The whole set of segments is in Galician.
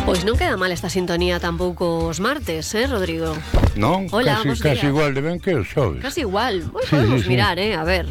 Pois non queda mal esta sintonía tampouco os martes, Rodrigo? Non, hola, casi igual de ben que os xoves. Casi igual, Sí, podemos sí. mirar, a ver.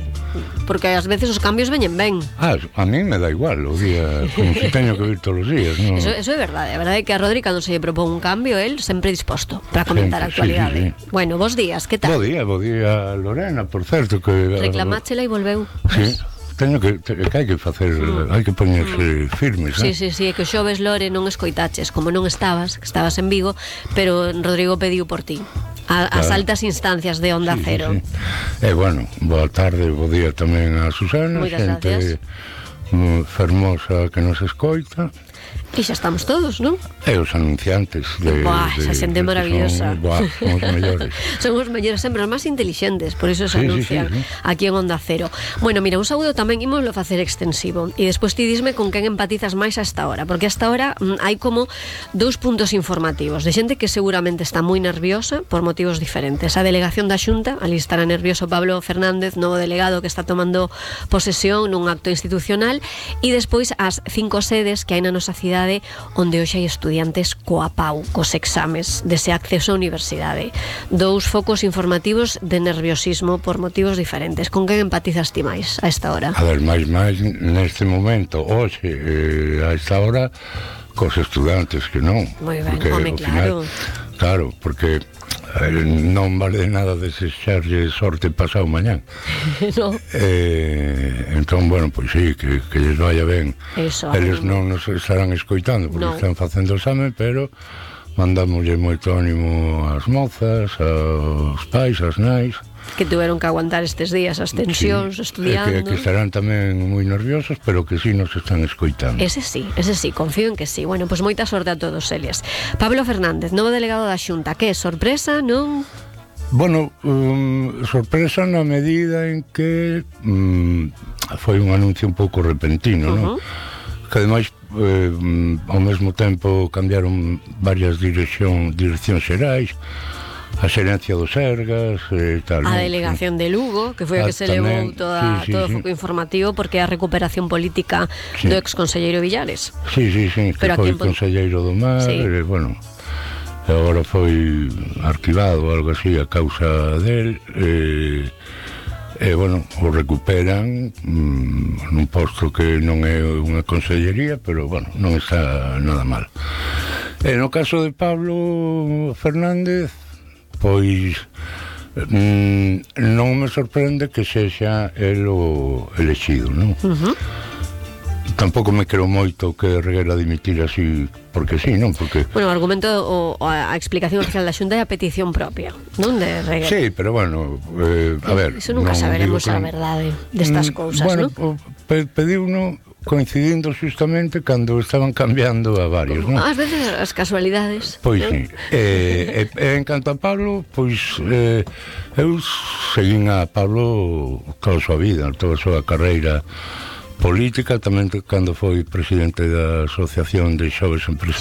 Porque ás veces os cambios veñen ben. A mí me da igual o día, como si teño que vir todos os días, non? Eso é verdade, a verdade é que a Rodri cando se lle propón un cambio, él sempre disposto para comentar a actualidade. Sí. Bueno, bos días, que tal? Bo día, Lorena, por certo que... Reclamáchela e volveu. Sí, teño que hai que facer, hai que poñerse firmes, Sí, é que o xoves, Lore, non escoitaches, como non estabas, que estabas en Vigo, pero Rodrigo pediu por ti. As altas instancias de Onda Cero. Sí. Bueno, boa tarde, bo día tamén a Susana, Moitas xente fermosa que nos escoita. E xa estamos todos, non? E os anunciantes esa xente maravillosa. Son os mellores. Son os mellores, sempre os máis intelixentes. Por iso se anuncian sí. aquí en Onda Cero. Bueno, mira, un saúdo tamén ímoslo facer extensivo. E despois ti disme con quen empatizas máis a esta hora. Porque a esta hora hai como dous puntos informativos de xente que seguramente está moi nerviosa por motivos diferentes. A delegación da Xunta, ali estará nervioso Pablo Fernández, novo delegado que está tomando posesión nun acto institucional. E despois as 5 sedes que hai na nosa cidade onde hoxe hai estudiantes coa pau, cos exames dese acceso á universidade. Dous focos informativos de nerviosismo por motivos diferentes. Con quen empatizas ti máis a esta hora? A ver, máis neste momento, hoxe, a esta hora, cos estudantes que non. Moi ben, porque, home, claro. Claro, porque non vale nada desexarlle sorte pasado mañán. No. Entón, bueno, pois sí, que lles vaya ben. Eso, eles non nos estarán escoitando porque están facendo o exame, pero mandamoslle moito ánimo ás mozas, aos pais, ás nais, que tuveron que aguantar estes días as tensións, estudiando. Que estarán tamén moi nerviosos, pero que sí nos están escoitando. Ese sí, confío en que sí. Bueno, pois moita sorte a todos eles. Pablo Fernández, novo delegado da Xunta. Que sorpresa, non? Bueno, sorpresa na medida en que foi un anuncio un pouco repentino, non? Que ademais ao mesmo tempo cambiaron varias direccións xerais, a xerencia do Sergas e tal. A delegación de Lugo, que foi a que se levou todo o foco informativo, porque é a recuperación política do exconselleiro Villares. Sí, que foi conselleiro do Mar, bueno, agora foi arquivado ou algo así a causa del, bueno, o recuperan nun posto que non é unha consellería, pero bueno, non está nada mal. E no caso de Pablo Fernández, pois non me sorprende que sexa el o elexido, non? Tampouco me creo moito que Reguera dimitir así porque sí, non? Porque... Bueno, o argumento, a explicación oficial da Xunta é a petición propia, non de Reguera. Sí, pero bueno, a ver... Iso nunca saberemos a verdade destas cousas, non? Bueno, pediuno coincidindo justamente cando estaban cambiando a varios, non? Ás veces as casualidades. Pois sí. En canto a Pablo, pois eu seguín a Pablo toda a súa vida, toda a súa carreira política, tamén cando foi presidente da Asociación de Xoves Empresarios.